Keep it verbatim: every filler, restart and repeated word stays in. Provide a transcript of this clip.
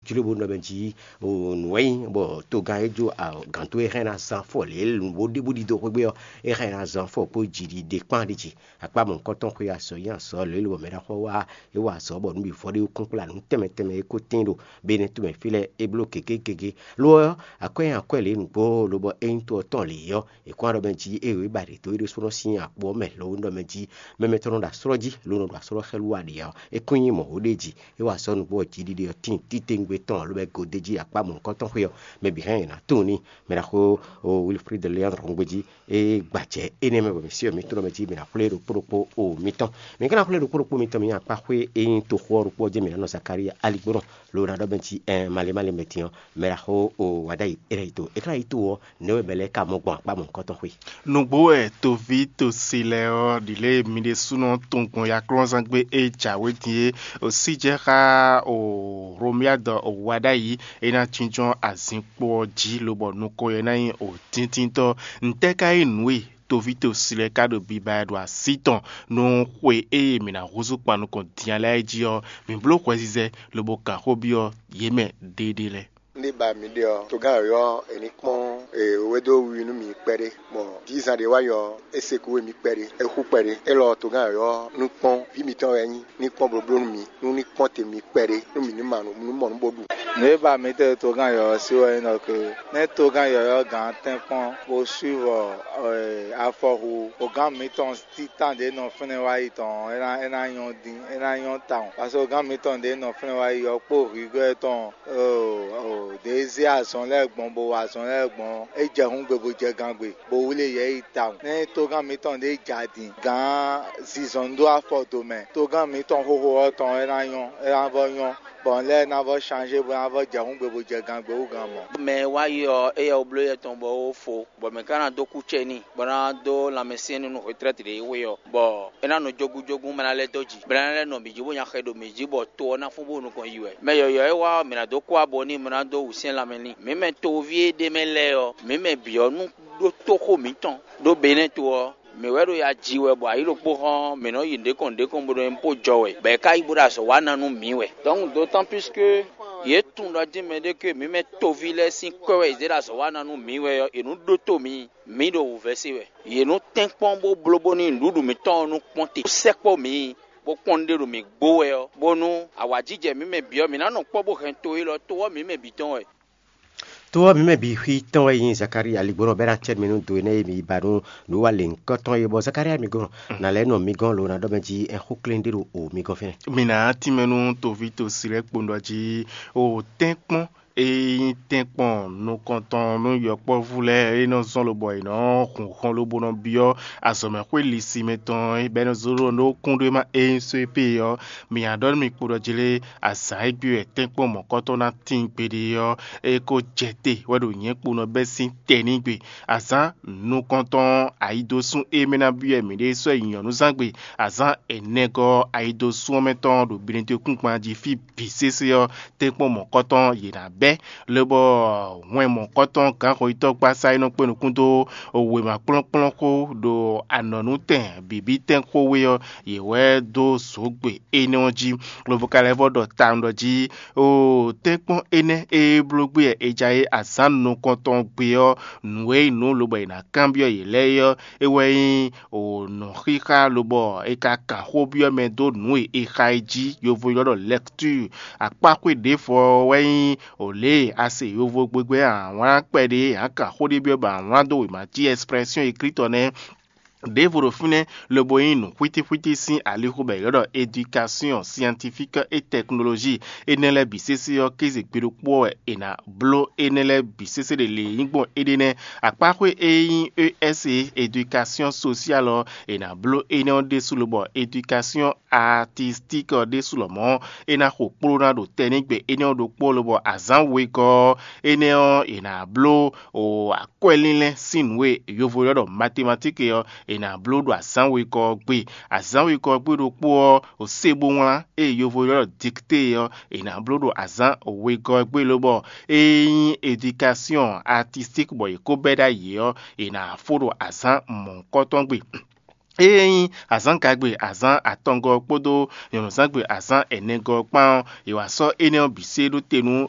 Jló bó nɔ mɛ jí nǔ e nyí bɔ togán e jó gǎn towe hɛn ná zán fɔ lě nǔgbó ɖěbǔ ɖidó xwé gbe ɔ́, é hɛn ná zán fɔ kpó jiɖiɖe kpán ɖi jí. Akpá mɔ̌hunkɔtɔn xwe azɔ̌ nyi azɔ̌ lě lobɔ mɛ ɖaxó wá é wa azɔ̌ bɔ nǔ bǐ vɔ ɖé kún kplá nǔ tɛnmɛ tɛnmɛ e ko tín ɖo Benɛ́ tomɛ fí lɛ́ɛ é bló gěgé gěgé. Lo ɔ́, akwɛ́ nyi akwɛ́ lě nǔgbó lobɔ é nyí to ɔ́ tɔn lě ɔ́, è kɔn ɖɔ mɛ jí é wě ba ɖě dó é ɖésúnɔ sín akpo ɔ́ mɛ lo nɔ mɛ jí mɛmɛ tɔn nɔ ɖo aslɔ́ jí lo nɔ ɖo aslɔ́ xɛlú wa ɖě ɔ́, é kún nyí mɔ̌ ɖé jí. É wa azɔ̌ nǔgbó ɔ́ jiɖiɖe ɔ́ tíin títewungbe tɔn alo bɔ é gǒ d'é jí akpá mɔ̌hunkɔtɔn xwe ɔ́, mɛ bǐ hɛn yě ná tunwun n'i. Mɛ ɖaxó Wilfrid Leandre Hungbeji é gbacɛ énɛ́ mɛ bɔ mǐ syɔ́ mǐ tunwun mɛ jí mǐ ná xwlé ɖokpó ɖokpó o mitɔn. Mǐ ka ná xwlé ɖokpó ɖokpó mitɔn mǐ akpá xwé e nyí toxo ɔ́ ɖokpó ɔ́ jɛ́n mǐ ná nɔ Zakalía aligbónɔ lo ná ɖɔ bɛ́ jí ɛn malé malé mɛ din ɔ́, mɛ ɖaxó o wǎ ɖ'ayǐ é ná yi to. É ka ná yi to ɔ́, nɛ̌ wɛ mɛ lɛ́ɛ ka mɔ gbɔn akpá mɔ̌hunkɔtɔn xwe? Nǔgbó wɛ toví tosi lɛ́ɛ ɔ́ ɖi lě e mi ɖésúnɔ tunwun gbɔn yaklɔ́nzán gbe e jǎwe din é. Osíjɛ́ xá o Romiadɔ o wá ɖ'ayǐ é ná jínjɔ́n azinkpo ɔ́ jí lobɔ nukɔn ɔ́ ná nyí o tíntínntɔ́. Ntɛ́ ka nyí nǔ e toví tosi lɛ́ɛ ka ɖo biba wɛ ɖo así tɔn nú xwe e mǐ ná húzú kpan nukɔn din ɔ́ lɛ́ɛ jí ɔ́, mǐ bló hwɛzizɛ lobo kan xó byɔ́ yě mɛ ɖéeɖée lɛ́ɛ. Nú ba mǐ ɖe ɔ́, togán yɔ̌yɔ́ è ní kpɔ́n wěwé dó wiwi nú mǐ kpɛɖé, bɔ dízan ɖé wá yi ɔ́, é se kú we mì kpɛɖé, é xú kpɛɖé. Élɔ́ togán yɔ̌yɔ́ nú kpɔ́n vǐ mǐtɔn wɛ é nyí, ní kpɔ́n blóbló nú mǐ, nú ní kpɔ́n te mǐ kpɛɖé, nú mǐ ní ma nǔ nú mɔ nú bó ɖu. Nǔ e ba mǐ tɛ́ togán yɔ̌yɔ́ sí wɛ nyí ɖɔ ke nɛ́ togán yɔ̌yɔ́ gǎn tɛ́nkpɔ́n bó swívɔ afɔhu ogán mǐtɔn títán ɖě nɔ fínɛ́ wá yi tɔn ɔ́, é ná é ná nyɔ́ dín, é ná nyɔ́ tawun. Paseke gán mǐtɔn ɖě nɔ fínɛ́ wá yi ɔ́ kpó hwǐgɔ́ tɔn ɖě zé azɔn lɛ́ɛ gbɔn bó wa azɔn lɛ́ɛ gbɔn ɔ́, é jɛ hǔngbe bó jɛ gangbe, bó wlí yɛ yi tawun. Nɛ́ togán mǐtɔn ɖě ja din gǎn zinzɔn dó afɔ do mɛ, togán mǐtɔn xóxó ɔ́ tɔn é ná nyɔ́, é ná vɔ nyɔ́, bɔ nǔ lɛ́ɛ ná vɔ shanzé bó ná vɔ jɛ hǔngbe bó jɛ gangbe wú gǎn mɔ̌. Mɛ e wá yi ɔ́, éyɛ́ wú bló yɛ tɔn bɔ é wó fo, bɔ mɛ ka ná dó kú cɛ n'i, bɔ é ná dó lanmɛsyɛ́n n'i nú hwetrɛ́ti ɖě e xwe ɔ́, bɔ é ná nɔ jógúnjógún bó ná lɛ́ dó jǐ, bɔ é ná lɛ́ nɔ mǐ jí bó nya xɛ ɖo mǐ jí bɔ to ɔ́ ná fún bó nukɔn yi wɛ. Mɛ yɔ̌yɔ́ e wá ɔ́, mǐ ná dó kú abo n'i, bó ná dó wǔsyɛ́n lanmɛ n'i. Mǐ mɛ toví e ɖ'é mɛ lɛ́ɛ ɔ́, mǐ mɛ bǐ ɔ́ nú ɖótó xó mǐtɔn ɖó Benɛ́ to ɔ́, mǐ wɛ ɖo ya ji wɛ bɔ ayǐ ɖokpó hɔn mǐ nɔ yi nǔɖé kɔn nǔɖé kɔn bó nɔ nyí bó jɔ wɛ, bɔ è ka yi bó ɖo azɔ̌ wa ná nú mǐ wɛ. Donc d'autant plus que yě tunwun ɖɔ jí mɛɖé ke mǐ mɛ toví lɛ́ɛ sín kwɛ́ wɛ yě zé ɖo azɔ̌ wa ná nú mǐ wɛ ɔ́, è nǔ ɖótó mǐ, mǐ ɖo wǔvɛ́ se wɛ. Yě nú tɛ́nkpɔ́n bó bló bónú nǔɖuɖu mǐtɔn ɔ́ nú kpɔ́n te, bó sɛkpɔ́ mǐ, bó kpɔ́n nǔɖé ɖo mǐ gbó wɛ ɔ́, bónú awǎjijɛ mǐ mɛ bǐ ɔ́, mǐ ná nɔ kpɔ́ bó hɛn to élɔ́, to ɔ́ mǐ mɛ bǐ tɔn wɛ. To ɔ́ mǐ mɛ bǐ xwí tɔn wɛ nyí Zakalía aligbɔnɔ bɔ é ná cɛ mì nú do énɛ́ e mi ba nú nǔ wa lěhunkɔtɔn é, bɔ Zakalía mi gɔ́n ná lɛ́ nɔ mi gɔ́n lo ná ɖɔ mɛ jí ɛn xó klɛ́n ɖé ɖo o mi gɔ́n fínɛ́. Mi ná tínmɛ nú toví tosi lɛ́ɛ kpowun ɖɔ jí o tɛ́nkpɔ́n e nyí tɛ́nkpɔ́n nukɔntɔn nú yɔkpɔ́vú lɛ́ɛ e nɔ zɔ́n lobɔ è nɔ hun hɔn lobo nɔ byɔ́ azɔ̌mɛxwé lisi mɛ tɔn e bɔ é nɔ zó ɖó nú kúnɖéma e nyí só e pé ɔ́, mi ná ɖɔ nú mi kpo ɖɔ jlé azǎn e gbe wɛ tɛ́nkpɔ́n mɔ̌kɔtɔn ná tíin gbeɖé ɔ́, é ko jɛ te wɛ ɖo nyɛ̌ kpo nɔ bɛ́ sín tɛnígbe. Azǎn nukɔntɔn ayidosún e mɛ ná byɔ́ mǐɖée sɔ́ yi nyɔ̌nuzángbe, azǎn ɛnɛgɔ́ ayidosún ɔ́ mɛ tɔn ɖo Benɛ́dekúngban jí fí bǐ sésé ɔ́, tɛ́nkpɔ́n mɔ̌kɔtɔn yě ná bɛ́, lobɔ hwɛn mɔ̌kɔtɔn gǎnxɔyítɔ́ gbasá e nɔ kpé nukún dó wěma kplɔ́nkplɔ́n xó ɖo anɔ̌nútɛn bǐbítɛn xówe ɔ́, yě wɛ dó zǒgbe énɛ́ ɔ́ jí. Lobo ka lɛ́ vɔ ɖɔ tawun ɖɔ jí, oo, tɛ́nkpɔ́n énɛ́ e bló gbé wɛ è ja é azǎn nukɔntɔn gbe ɔ́, nǔ e nyí nǔ lobɔ è nǎ kanbyɔ́ yě lɛ́ɛ é ɔ́, é wɛ nyí nǔxixa lobɔ è ka kan xó byɔ́ mɛ dó nǔ e è xa é jí, yovo ylɔ́ ɖɔ lecture. Akpáxwé ɖěvo ɔ́ wɛ nyí lě e a se yovo gbegbé awlán kpɛɖé ǎ kan xó ɖé byɔ́ bɔ awlán dó wěma jí expression écrite ɔ́ nɛ́. Ɖěvo ɖo fínɛ́ lobo nyí nǔ xwítíxwítí sín alixo bɔ è ylɔ́ ɖɔ éducation scientifique et technologie. Énɛ́ lɛ́ɛ bǐ sésé ɔ́, kéze gbe ɖokpó ɔ́ wɛ è nǎ bló énɛ́ lɛ́ɛ bǐ sésé ɖe lě e nyí gbɔn éɖée nɛ́. Akpáxwé e nyí E S E, éducation sociale ɔ́, è nǎ bló énɛ́ ɔ́ ɖésú lobɔ éducation artistique ɔ́ ɖésú lɔmɔ̌, é ná xo kpló ná ɖo tɛnígbe énɛ́ ɔ́ ɖokpó lobɔ azǎn wegɔ́ ɔ́, énɛ́ ɔ́, è nǎ bló o akwɛ́línlɛ́n sín nǔ e yovo ylɔ́ ɖɔ mathématique ɔ́, è nǎ bló ɖo azǎn wegɔ́ ɔ́ gbe. Azǎn wegɔ́ ɔ́ gbe ɖokpó ɔ́, o sé bó wlán e yovo ylɔ́ ɖɔ dictée ɔ́, è nǎ bló ɖo azǎn wegɔ́ ɔ́ gbe lobɔ é nyí éducation artistique bɔ è ko bɛ́ ɖ'ayǐ ɔ́, è nǎ fó ɖo azǎn mɔ̌hunkɔtɔn gbe. Ée nyí azǎngagbe azǎn atɔngɔ́ kpódó nyɔ̌nuzángbe azǎn ɛnɛgɔ́ kpán ɔ́, è wǎ sɔ́ énɛ́ ɔ́ bǐ sé ɖó te nú